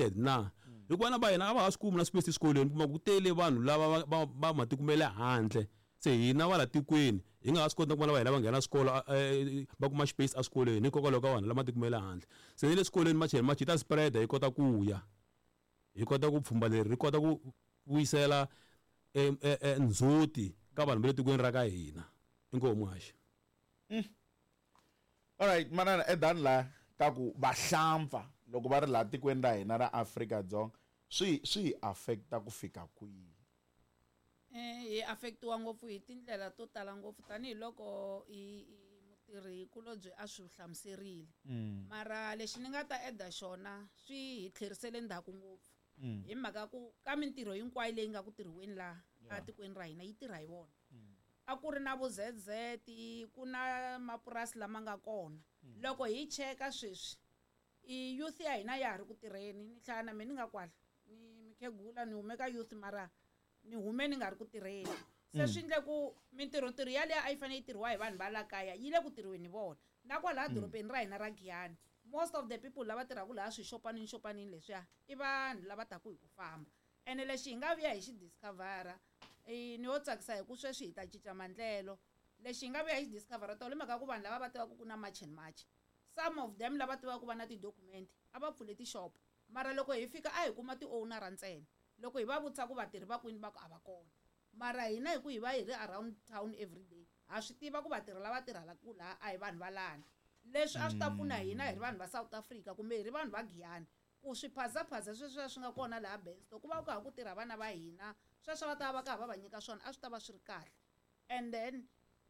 educated na. Hikuva vana va hina a va ha swi kumi na space eswikolweni, kuma ku tele vanhu lava va matiko ma le handle. Se hina va la tikweni hi nga ha swi koti na ku vana va hina va nghena swikolo, va kuma space eswikolweni hikokwalaho ka vanhu lava matiko ma le handle. Se ni le swikolweni March and March yi ta spread, yi kota ku ya, hi kota ku pfhumba leri ri kota ku vuyisela ndzhuti ka vanhu va le tikweni ra ka hina. Inkomu haxa. Alright, manana edani la ka ku vahlampfa loko va ri laha tikweni ra hina ra Afrika-Dzonga swi hi affecta ku fika kwihi? Hi affectiwa ngopfu hi tindlela to tala ngopfu, tanihiloko hi mutirhi kulobye a swi hlamuserile. Mara lexi ni nga ta eda xona swi hi tlherisele ndzhaku ngopfu. Hi mhaka ku ka mintirho hinkwayo leyi nga ku tirhiweni laha etikweni ra hina yi tirha hi vona. A ku ri na vo ZZ, ku na mapurasi lama nga kona. Loko hi cheka sweswi i youth ya hina ya ha ri ku tirheni. Ni hlaya na mina ni nga kwala ni mukhegula, ni hume ka youth mara ni hume ni nga ri ku tirheni. Se swi endle ku mintirho-ntirho yaliya a yi fanele yi tirhiwa hi vanhu va la kaya yi le ku tirhiweni hi vona. Na kwalaha dorobeni ra hina ra Giyani, most of the people lava tirhaka laha swixopanini xopanini leswiya i vanhu lava taku hi ku famba. Ene lexi hi nga vuya hi xi discovera, ni yo tsakisa hi ku sweswi hi ta cinca maendlelo. Lexi hi nga vuya hi xi discovera tolo i mhaka ku vanhu lava va tivaka ku na March and March, some of them lava tivaka ku va na ti-document a va pfule tixopo, mara loko hi fika a hi kuma ti-owner ntsena. Loko hi va vutisa ku vatirhi va kwini, va ku a va kona. Mara hina hi ku hi va hi ri around town every day, ha swi tiva ku vatirhi lava tirhelaka laha a hi vanhu va lani. Leswi a swi ta pfuna hina hi ri vanhu va South Africa kumbe hi ri vanhu va Giyani, ku swiphazaphaza sweswiya swi nga kona laha Bensto, ku va ku ha ku tirha vana va hina, sweswo va ta va ka va va nyika swona, a swi ta va swi ri kahle. And then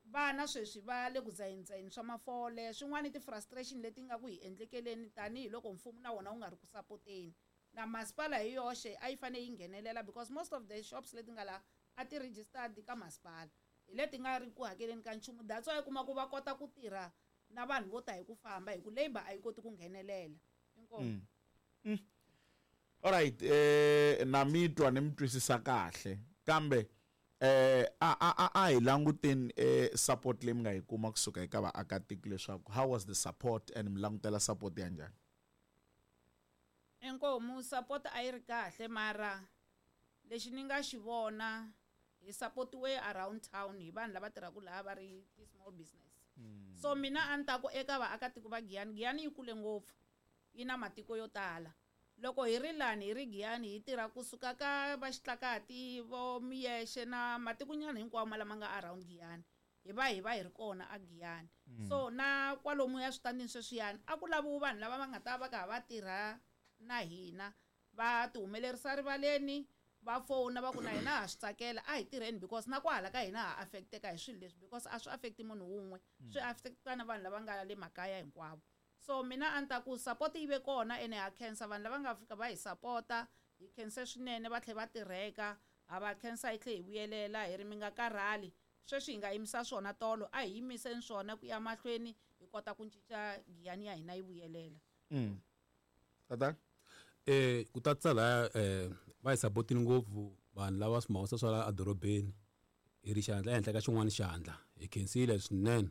vana sweswi va le ku dzaheni swa mafole, swin'wana i ti-frustration leti nga ku hi endlekeleni tanihiloko mfumo na wona wu nga ri ku sapoteni. Na masipala hi yoxe a yi fanele yi nghenelela, because most of the shops leti nga laha a ti registered ka masipala, hi leti nga ri ku hakeleni ka nchumu. That's why u kuma ku va kota ku tirha na vanhu vo ta hi ku famba, hi ku labour a yi koti ku nghenelela. Inkomu. Alright, na mi twa ni mi twisisa kahle, kambe a hi languteni support leyi mi nga yi kuma kusuka eka vaakatiko, leswaku how was the support and mi langutela support ya njhani? Inkomu, support a yi ri kahle, mara lexi ni nga xi vona hi supportiwe around town hi vanhu lava tirhaka laha va ri ti-small business. So mina a ni ta ku eka vaakatiko va Giyani, Giyani yi kule ngopfu, yi na matiko yo tala. Loko hi ri lani hi ri Giyani hi tirha kusuka ka va Xitlakati, vo Miyexe na matikonyana hinkwawo lama nga around Giyani, hi va hi ri kona a Giyani. So na kwalomuya switandini sweswiyani a ku laviwi vanhu lava va nga ta va ka va tirha na hina, va ti humelerisa rivaleni, va fona va ku na hina ha swi tsakela, a hi tirheni, because na kwahala ka hina ha affecteka hi swilo leswi, because a swi affecti munhu wun'we, swi affecta na vanhu lava nga le makaya hinkwavo. So mina a ni ta ku support yi ve kona, ene ha khensa vanhu lava nga fika va hi sapota, hi khense swinene, va tlhela va tirheka, ha va khensa. Hi tlhe hi vuyelela hi ri mi nga karhali, sweswi hi nga yimisa swona tolo, a hi yimiseni swona ku ya mahlweni, hi kota ku cinca Giyani ya hina yi vuyelela. Tata? Ku tatisa laya, va hi sapotini ngopfu vanhu lava swimawusa swa la edorobeni, hi ri xandla ehenhla ka xin'wana xandla, hi khensile swinene.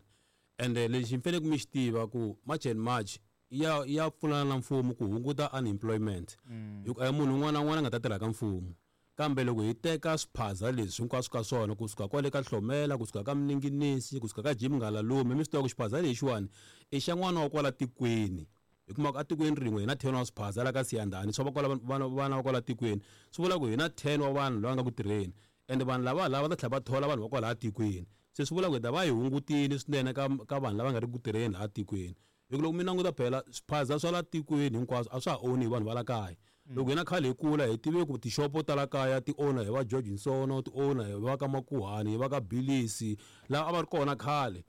Ende lexi mi faneleke mi xi tiva ku March and March ya pfunana na mfumo ku hunguta unemployment, hi ku a hi munhu un'wana na un'wana a nga ta tirha ka mfumo. Kambe loko hi teka swiphaza leswi hinkwaswo ka swona, kusuka kwale ka Hlomela, kusuka ka Mninginisi, kusuka ka Jim Ngalalume, mi swi tiva ku xiphaza lexiwani i xa n'wana wa kwala tikweni. Hi kuma ku etikweni rin'we hi na 10 wa swiphaza la ka Siyandhani, swa va kwala vana va kwala tikweni, swi vula ku hi na 10 wa vanhu lava nga ku tirheni, ende vanhu lava lava ta tlhela va thola vanhu va kwalaha tikweni. Se swi vula ku hi ta va hi hungutile swinene ka vanhu lava nga ri ku tirheni laha tikweni, hi ku loko mi languta phela swiphaza swa la tikweni hinkwaswo a swa ha oni hi vanhu va la kaya. Loko hina khale hi kula hi tive ku tixopo ta la kaya ti owner hi va George Nsono, ti owner hi va ka Makuhani, hi va ka Bilisi, lava a va ri kona khale.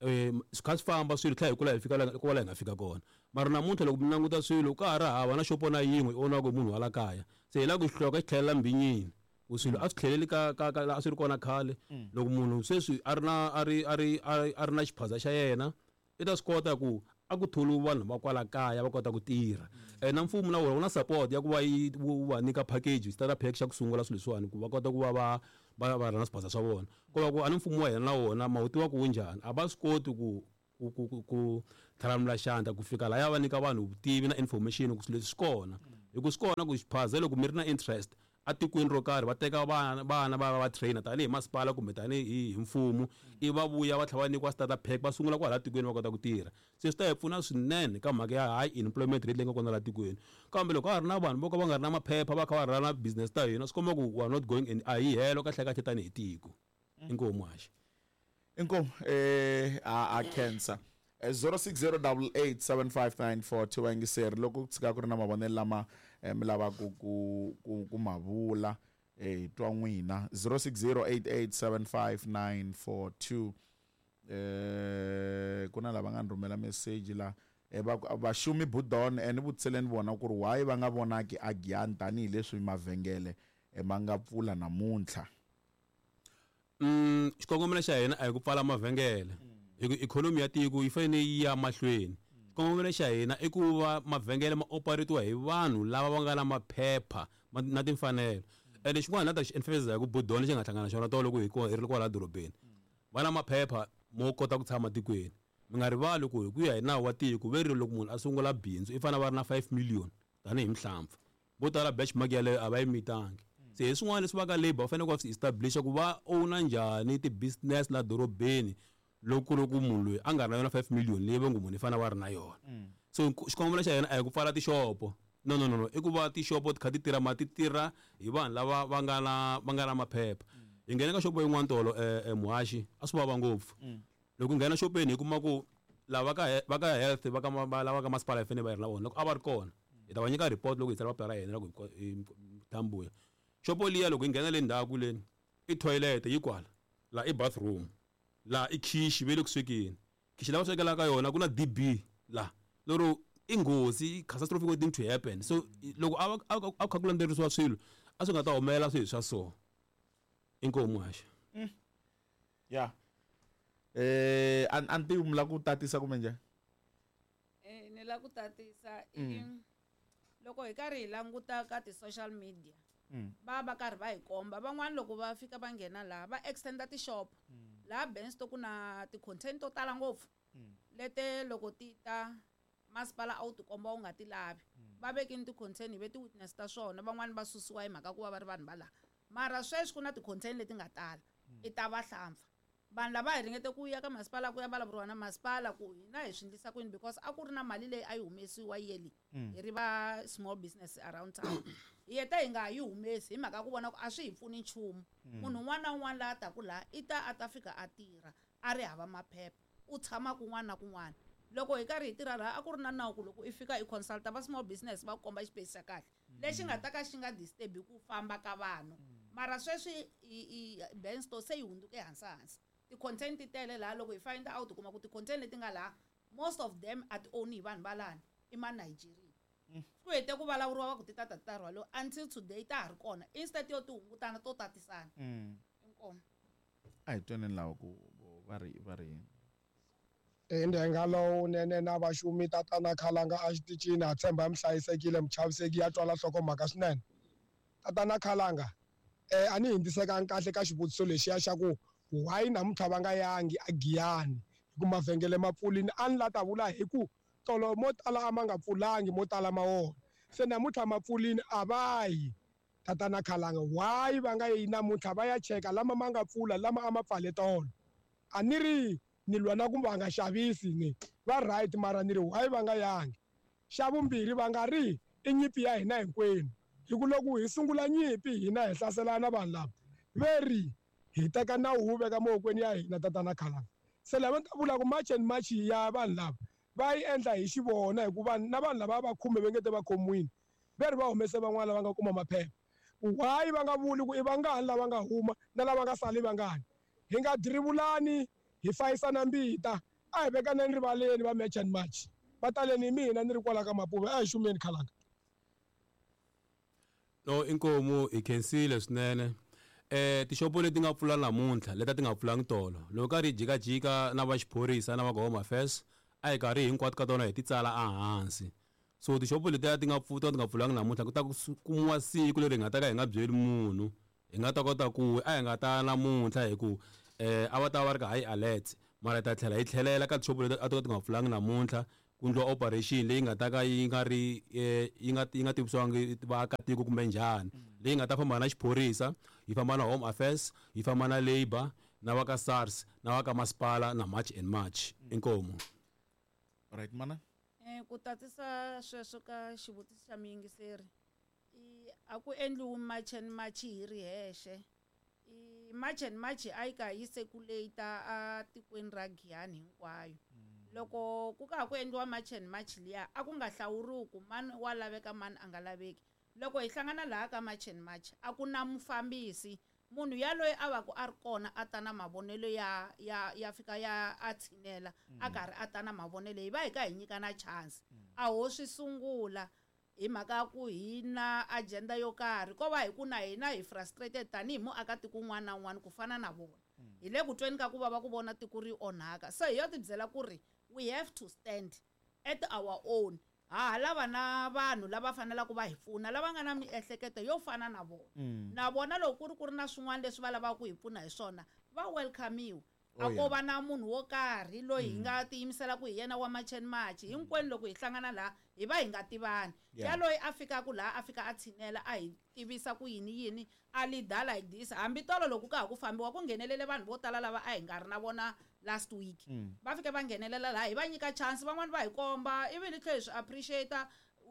Swi kha swi famba swilo, tlhela hi kula hi fika la kwala hi nga fika kona. Mara namuntlha loko mi languta swilo, ka ha ri hava na xopo na yin'we yi owniwaka hi munhu wa la kaya. Se hi lava ku xihloka xi tlhelela mbinyini, ku swilo a swi tlheleli ka laha a swi ri kona khale. Loko munhu sweswi a ri na a ri a ri a ri na xiphaza xa yena, i ta swi kota ku a ku tholiwi vanhu va kwala kaya va kota ku tirha. Na mfumo na wona wu na support ya ku va yi wu va nyika package, starter pack xa ku sungula swilo leswiwani, ku va kota ku va va rhanga swiphaza swa vona. Ko va ku a ni mfumo wa hina na wona ma wu tiva ku wu njhani, a va swi koti ku thalamula xandla ku fika lahaya va nyika vanhu vutivi na information ku swilo leswi swi kona. Hi ku swi kona ku xiphaza loko mi ri na interest atikweni ro karhi, va teka vana va trainer tanihi masipala kumbe tanihi hi mfumo, i va vuya va tlhela va nyikiwa starter pack, va sungula kwala tikweni va kota ku tirha. Se swi ta hi pfuna swinene ka mhaka ya high employment rate leyi nga kona laha tikweni. Kambe loko ka ha ri na vanhu vo ka va nga ri na maphepha, va kha va rhana business ta hina, swi komba ku we are not going and a hi helo kahle kahle tanihi tiko. Inkomu haxi. Inkomu, a cancer 0608875942. Vayingiseri, loko ku tshika ku ri na mavonelo lama mi lavaka ku ma vula, hi twa n'wina. 0608875942. Ku na lava nga ni rhumela message la, va ku vaxumi budon, ni vutiseleni vona ku ri why va nga vonaki a Giyani tanihileswi mavhengele ma nga pfula namuntlha. Xikongomelo xa hina a hi ku pfala mavhengele, hi ku ikhonomi ya tiko yi fanele yi ya mahlweni. Xikongomelo xa hina i ku va mavhengele ma operatiwa hi vanhu lava va nga na maphepha na timfanelo. Ende xin'wana na ta xi emphasize hi ku budon lexi nga hlangana na xona tolo loko hi ri kwala dorobeni, va na maphepha mo kota ku tshama tikweni. Mi nga rivali ku hi ku ya hi nawu wa tiko ve ri loko munhu a sungula bindzu i fanele va ri na 5 million tanihi mhlampfa. Vo tala benchmark yaleyo a va yi mitangi. Se hi swin'wana leswi va ka labour va fanele ku va swi establisha ku va owner njhani ti-business la dorobeni loko ku ri ku munhu loyi a nga ri na yona 5 million leyi va ngo munhu i fanele va ri na yona. So xikongomelo xa hina a hi ku pfala tixopo. No, no, no, no, i ku va tixopo ti kha ti tirha, ma ti tirha hi vanhu lava va nga na maphepha. Hi nghene ka xopo yin'wana tolo, muhaxi, a swi vava ngopfu. Loko hi nghena xopeni hi kuma ku lava va ka health, va ka lava ka masipala hi fanele va yi ri na vona. Loko a va ri kona hi ta va nyika report loko hi tsala papila ra hina loko hi tambuya xopo liya. Loko hi nghena le ndzhaku leni, i toilet yi kwala la, i bathroom la, i khishi ve le ku swekeni. Khishi la va swekelaka yona ku na DB la, lero i nghozi, catastrophic waiting to happen. So loko a kha ku landzelerisiwa swilo, a swi nga ta humelela swilo swa so. Inkomu haxa. Ya, a ni tivi mi lava ku tatisa kumbe njhani? Ni lava ku tatisa i loko hi karhi hi languta ka ti-social media, va karhi va hi komba van'wani loko va fika va nghena laha va extenda tixopo laha Bensto, ku na ti-contain to tala ngopfu lete loko ti ta masipala a wu tikomba wu nga ti lavi. Va vekini ti-contain, hi ve ti-witness ta swona. Van'wani va susiwa hi mhaka ku va va ri vanhu va laha, mara sweswi ku na ti-contain leti nga tala i ta vahlampfa. Vanhu lava hi ringete ku ya ka masipala ku ya vulavuriwa na masipala ku hina hi swi endlisa kwini, because a ku ri na mali leyi a yi humesiwa yearly hi ri va small business around town. Hi heta hi nga ha yi humesi hi mhaka ku vona ku a swi hi pfuni nchumu. Munhu un'wana na un'wana laha taku laha i ta a ta fika a tirha a ri hava maphepha, u tshama kun'wana na kun'wana. Loko hi karhi hi tirha laha, a ku ri na nawu ku loko i fika i consulta va small business, va ku komba xipesi xa kahle lexi nga ta ka xi nga disturbi ku famba ka vanhu. Mara sweswi i Bensto se yi hundzuke hansi hansi, ti-contain ti tele laha. Loko hi find out, kuma ku ti-contain leti nga laha, most of them a ti own hi vanhu va lani, i ma Nigeria. Ku hete ku vulavuriwa va ku ti ta ta rhwaliwa, until today ta ha ri kona. Instead yo ti hungutana, to tatisana. Inkomu. A hi twaneni lava ku va ri yini. I ndenga lowunene na vaxumi tatana Khalanga a xitichini, ha tshemba mi hlayisekile, mi chaviseki. Ya twala nhlokomhaka swinene, tatana Khalanga. A ni hindzisekanga kahle ka xivutiso lexiya xa ku why namuntlha va nga yangi a Giyani hi ku mavhengele ma pfulini. A ni la ta vula hi ku tolo mo tala a ma nga pfulangi, mo tala ma wona se namuntlha ma pfulini, a va yi. Tatana Khalanga, why va nga yi namuntlha va ya cheka lama ma nga pfula, lama a ma pfale tolo? A ni ri ni lwa na ku va nga xavisi, ni va right, mara ni ri why va nga yangi? Xa vumbirhi, va nga ri i nyimpi ya hina hinkwenu, hi ku loko hi sungula nyimpi hina hi hlaselana, vanhu lava ve ri hi teka nawu wu veka mavokweni ya hina. Tatana Khalanga, se lava ni ta vula ku March and March ya vanhu lava va yi endla hi xivona, hikuva na vanhu lava va khume va nge te va khomiwini, ve ri va humese van'wana lava nga kuma maphepha. Why va nga vuli ku i vangani lava nga huma na lava nga sali vangani? Hi nga dirivulani, hi fayisana mbita, a hi vekaneni rivaleni. Va March and March va taleni hi mina, ni ri kwala ka Mapuve. A hi xumeni, Khalanga. No, inkomu, hi khensile swinene. Tixopo leti nga pfula namuntlha, leti a ti nga pfulangi tolo, loko karhi hi jikajika na va xiphorisa na va home affairs, a hi karhi hinkwato ka tona hi ti tsala ehansi. So tixopo letiya ti nga pfulangi namuntlha, ku ta ku kumiwa siku leri hi nga ta ka hi nga byeli munhu, hi nga ta kota ku a hi nga ta namuntlha hi ku a va ta va ri ka high alert, mara hi ta tlhela hi tlhelela ka tixopo leti a to ka ti nga pfulangi namuntlha. Ku endliwa operation leyi nga ta ka yi nga ri yi nga tivisiwangi vaakatiko kumbe njhani, leyi nga ta famba na xiphorisa, yi famba na Home Affairs, yi famba na Labour, na va ka SARS, na va ka masipala, na March and March. Inkomu. Right, mana. Ku tatisa sweswo ka xivutiso xa muyingiseri, i a ku endliwi March and March hi ri hexe. I March and March a yi ka yi circulate a tikweni ra Giyani hinkwayo. Loko ku ka ha ku endliwa March and March liya, a ku nga hlawuriwi ku mani wa laveka, mani a nga laveki. Loko hi hlangana laha ka March and March, a ku na mufambisi. Munhu yaloye a va ku a ri kona a ta na mavonelo ya fika ya a tshinela a karhi a ta na mavonelo, hi va hi ka hi nyika na chance. A ho swi sungula hi mhaka ya ku hi na agenda yo karhi, ko va hi ku na hina hi frustrated tanihi muakatiko un'wana na un'wana ku fana na vona. Hi le ku tweni ka ku vava ku vona tiko ri onhaka, se hi yo tibyela ku ri we have to stand at our own. Ha ha lava na vanhu lava faneleke va hi pfuna, lava nga na miehleketo yo fana na vona. Na vona loko ku ri na swin'wana leswi va lavaka ku hi pfuna hi swona, va welcome-iwa. A ko va na munhu wo karhi loyi hi nga tiyimisela ku hi yena wa March and March. Hinkwenu loko hi hlangana laha, hi va hi nga tivani. Yaloyi a fikaka laha, a fika a tshinela, a hi tivisa ku yini yini, a leader like this. Hambi tolo loko ka ha ku fambiwa, ku nghenelele vanhu vo tala lava a hi nga ri na vona last week. Va fike va nghenelela laha, hi va nyika chance, van'wani va hi komba, ivi hi tlhela hi swi appreciate,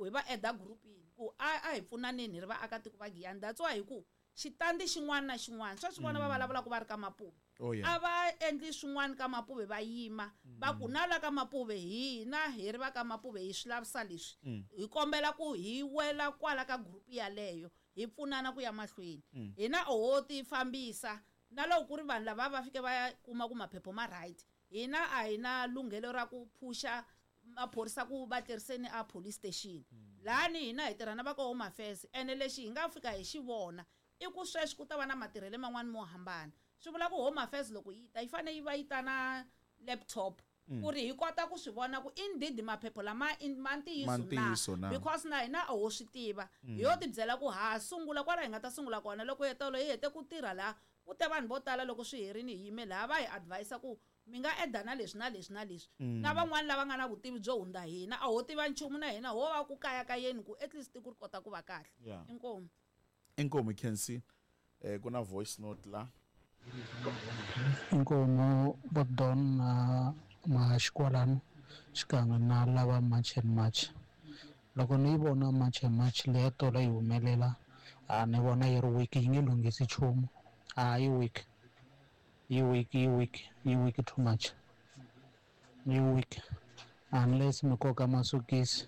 hi va eda groupini ku a hi pfunaneni hi ri vaakatiko va Giyani. That's why hi ku xitandi xin'wana na xin'wana sweswi vona va vulavulaka va ri ka Mapuve, a va endli swin'wana ka Mapuve, va yima va ku na la ka Mapuve, hina hi ri va ka Mapuve hi swi lavisa leswi, hi kombela ku hi wela kwala ka group yaleyo, hi pfunana ku ya mahlweni. Hina oho ti fambisa na loko ku ri vanhu lava va fike va ya kuma ku maphepha ma right, hina a hi na lunghelo ra ku phusha maphorisa ku va tleriseni a police station. Lani hina hi tirha na va ka Home Affairs, ene lexi hi nga fika hi xi vona i ku sweswi ku ta va na matirhelo man'wani mo hambana. Swi vula ku Home Affairs loko yi ta, yi fanele yi va yi ta na laptop ku ri hi kota ku swi vona ku indeed maphepha lama ma ntiyiso na, because na hina a ho swi tiva. Hi yo tibyela ku ha sungula kwala hi nga ta sungula kona. Loko tolo hi hete ku tirha laha, ku te vanhu vo tala. Loko swi herini, hi yime laha, va hi advise ku mi nga eda na leswi na leswi na leswi, na van'wani lava nga na vutivi byo hundza hina. A ho tiva nchumu na hina, ho va ku kayakayeni ku at least tiko ri kota ku va kahle. Inkomu. Inkomu, Kensi. Ku na voice note la. Inkomu, Bodon na Maxikwalano, xikan'we na lava March and March. Loko ni yi vona March and March leya tolo yi humelela, a ni vona yi ri weak, yi nge lunghisi nchumu. A yi weak, yi weak, yi weak, yi weak too much, yi weak unless mi koka masokisi,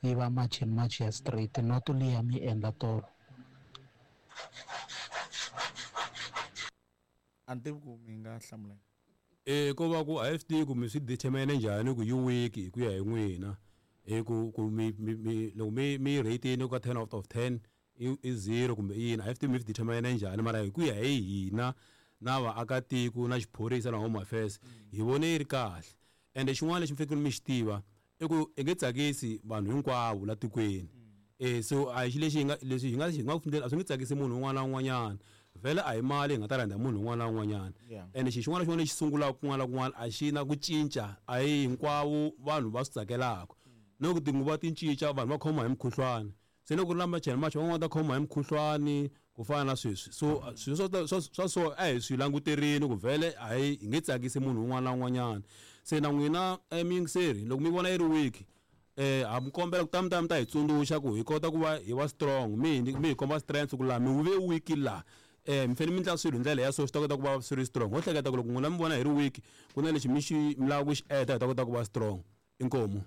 yi va March and March ya straight, not liya mi endla tolo. A ni tivi ku mi nga hlamula. Ko va ku a hi swi tivi ku mi swi determine njhani ku yi weak hi ku ya hi n'wina. I ku mi loko mi rate-ini ka 10 out of 10, i 0 kumbe i yini, a hi swi tivi mi swi determine njhani. Mara hi ku ya hi hina na vaakatiko na xiphorisa na Home Affairs, hi vone yi ri kahle. Ende xin'wana lexi mi fanekele mi xi tiva i ku i nge tsakisi vanhu hinkwavo la tikweni. So a hi xi lexi hi nga leswi hi nga ku a swi nge tsakisi munhu un'wana na un'wanyana. Vhele a hi mali hi nga ta rhandza munhu un'wana na un'wanyana. Ende xi xin'wana na xin'wana lexi sungulaka kun'wana na kun'wana a xi na ku cinca, a hi hinkwavo vanhu va swi tsakelaka. No ku tinguva ti cinca, vanhu va khoma hi mukhuhlwani. Se loko ku ri na March and March, van'wana va ta khoma hi mukhuhlwani ku fana na sweswi. So swilo swa so a hi swi languterini ku vhele a hi nge tsakisi munhu un'wana na un'wanyana. Se na n'wina muyingiseri, loko mi vona yi ri weak, ha mi kombela ku ta mi ta hi tsundzuxa ku hi kota ku va hi va strong. Mi hi komba strength ku laha mi ve weak laha, mi fanele mi endla swilo hi ndlela ya so, swi ta kota ku va swi ri strong. Ho hleketa ku loko n'wina mi vona hi ri weak, ku na lexi mi xi mi lava ku xi enda, hi ta kota ku va strong. Inkomu.